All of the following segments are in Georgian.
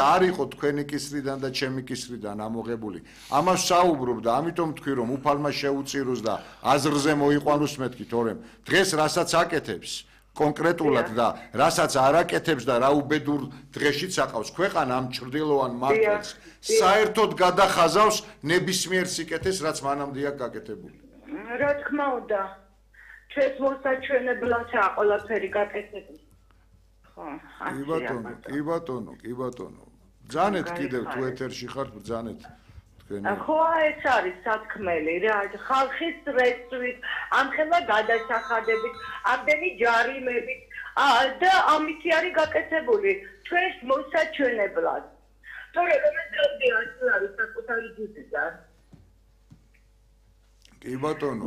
არ იყო თქვენი კისრიდან და ჩემი კისრიდან ამოღებული. ამას საუბრობ და ამიტომ თქვი რომ უფალმა შეუწიროს და აზრზე მოიყვანოს მეთქი, თორემ დღეს რასაც აკეთებს კონკრეტულად და რასაც არ აკეთებს და რა უბედურ დღეშიც აყავს ქვეყანა ამ ჭრდილოვან მართლს საერთოდ გადახაზავს ნებისმიერ სიკეთეს რაც მანამდეა გაკეთებული. რა თქმა უნდა ჩვენს მოსაჩვენებლადაა ყველაფერი გაკეთებული. კი ბატონო. ბრძანეთ კიდევ თუ ეთერში ხართ ბრძანეთ თქვენი. ხო ეს არის სათქმელი რა ხალხის რეწვით, ამხელა გადასახადებით, ამდენი ჯარიმებით და ამითი არის გაკეთებული ჩვენს მოსაჩვენებლად. თორე რომელზეა არის საკუთარი ჯიბიდან. კი ბატონო,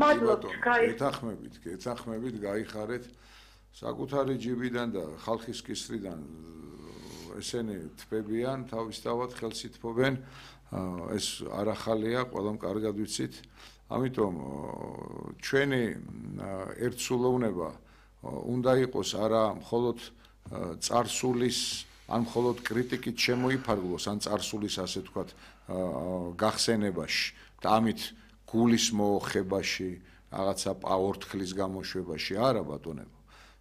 ეთანხმებით, გაიხარეთ საკუთარი ჯიბიდან და ხალხის კისრიდან ესენი თბებიან, თავისთავად ხელს ითმობენ, ეს არ ახალია, ყველამ კარგად ვიცით. ამიტომ ჩვენი ერთსულოვნება უნდა იყოს არა მხოლოდ წარსულის, ან მხოლოდ კრიტიკით შემოიფარგლოს, ან წარსულის ასე ვთქვათ, გახსენებაში და ამით გულის მოოხებაში, რაღაცა ორთქლის გამოშვებაში, არა ბატონებო.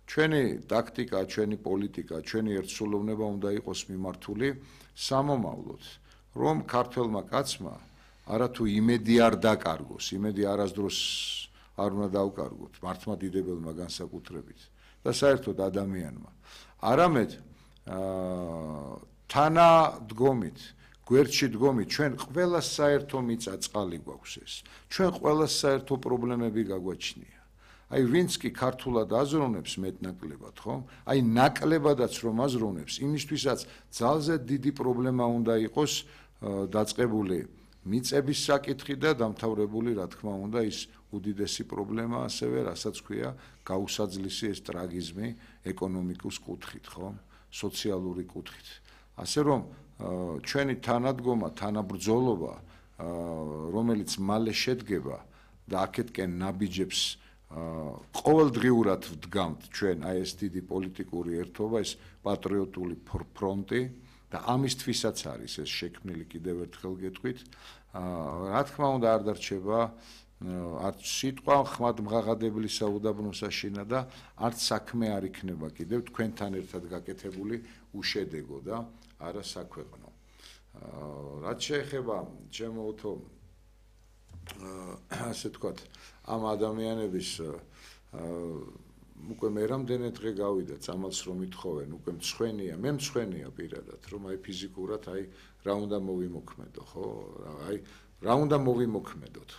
ჩვენი ტაქტიკა, ჩვენი პოლიტიკა, ჩვენი ერთსულოვნება უნდა იყოს მიმართული სამომავლოდ, რომ ქართველმა კაცმა არათუ იმედი არ დაკარგოს, იმედი არასდროს არ უნდა დავკარგოთ მართლმადიდებელმა განსაკუთრებით და საერთოდ ადამიანმა. არამედ თანადგომით, გვერდში დგომით, ჩვენ ყველა საერთო მიწა-წყალი გვაქვს ეს. ჩვენ ყველა საერთო პრობლემები გაგვაჩნია. აი ვინც კი ქართულად აზროვნებს მეტნაკლებად, ხო? აი ნაკლებადაც რომ აზროვნებს, იმისთვისაც ძალზე დიდი პრობლემა უნდა იყოს დაწყებული მიწების საკითხი და დამთავრებული, რა თქმა უნდა, ის უდიდესი პრობლემა ასევე, რასაც ქვია, გაუსაძლისი ეს ტრაგიზმი ეკონომიკის კუთხით, ხო? სოციალური კუთხით. ასე რომ ჩვენი თანადგომა, თანაბრძოლობა, რომელიც მალე შედგება და აქეთკენ ნაბიჯებს ყოველდღიურად ვდგამთ ჩვენ აი ეს დიდი პოლიტიკური ერთობა, ეს პატრიოტული ფრონტი და ამისთვისაც არის ეს შექმნილი კიდევ ერთხელ გეტყვით. რა თქმა უნდა არ დარჩება არც სიტყვა ხმად მღაღადებული საუდაბნო საშინა და არც საქმე არ იქნება კიდევ თქვენთან ერთად გაკეთებული უშედეგო და არა საქვეყნო. რაც შეეხება ჩემო უთო ასე ვთქვათ ამ ადამიანების უკვე მე რამდენი დღე გავიდა წამალს რომ ითხოვენ უკვე მცხვენია მე მცხვენია პირადად რომ აი ფიზიკურად აი რა უნდა მოვიმოქმედო ხო აი რა უნდა მოვიმოქმედოთ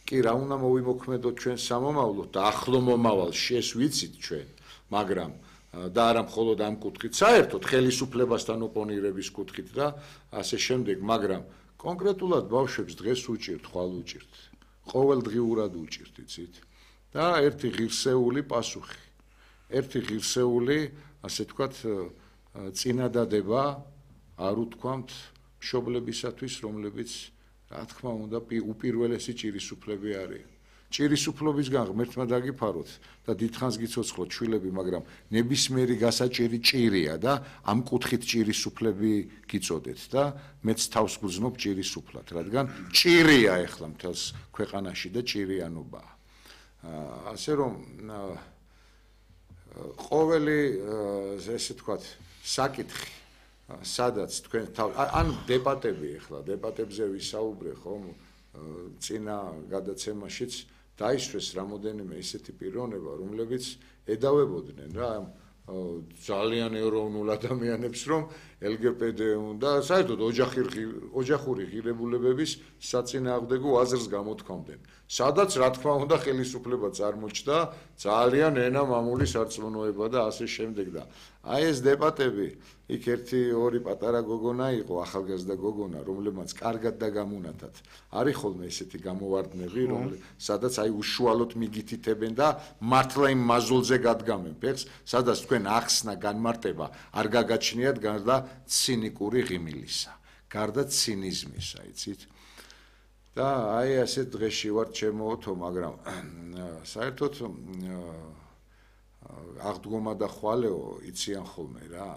კი რა უნდა მოვიმოქმედოთ ჩვენ სამომავლოდ და ახლო მომავალში ეს ვიცით ჩვენ მაგრამ და არა მხოლოდ ამ კუთხით საერთოდ ხელისუფლებასთან ოპონირების კუთხით და ასე შემდეგ მაგრამ კონკრეტულად ბავშვებს დღეს უჭირთ ხვალ უჭირთ ყოველდღიურად უჭირთ იცით და ერთი ღირსეული პასუხი ერთი ღირსეული ასე ვთქვათ წინადადება არ უთქვამთ მშობლებისათვის რომლებიც რა თქმა უნდა უპირველესი ჭირისუფლები არიან ჭირისუფლებისგან ღმერთმა დაგიფაროთ და დიდხანს გიცოცხლოთ შვილები მაგრამ ნებისმიერი გასაჭირი ჭირია და ამ კუთხით ჭირისუფლები გიწოდეთ და მეც თავს გძნობ ჭირისუფლად რადგან ჭირია ახლა მთელს ქვეყანაში და ჭირიანობაა ასე რომ ყოველი ესე ვთქვათ საკითხი სადაც თქვენ ან დებატები ახლა დებატებზე ვისაუბრე ხომ წინა გადაცემაშიც დაისვეს რამოდენიმე ისეთი პიროვნება რომლებიც ედავებოდნენ რა ძალიან ეროვნულ ადამიანებს რომ LGBT უნდა საერთოდ ოჯახური ღირებულებების საწინააღმდეგო აზრს გამოთქვამდნენ სადაც რა თქმა უნდა ხელისუფლება წარმოჩნდა ძალიან ენა მამული სარწმუნოება და ასე შემდეგ და აი ეს დებატები იქ ერთი ორი პატარა გოგონა იყო ახალგაზრდა გოგონა რომლებმაც კარგად და გამუნათად არის ხოლმე ესეთი გამოვარდნები სადაც აი უშუალოდ მიგითითებენ და მართლა იმ მაზულზე გადგამენ ფეხს სადაც თქვენ ახსნა განმარტება არ გაგაჩნიათ გარდა ცინიკური ღიმილისა გარდა ცინიზმისა იცით და აი ასეთ დღეში ვარ ჩემოთო მაგრამ საერთოდ აღდგომა და ხვალეო იციან ხოლმე რა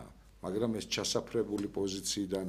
მაგრამ ეს ჩასაფრებული პოზიციიდან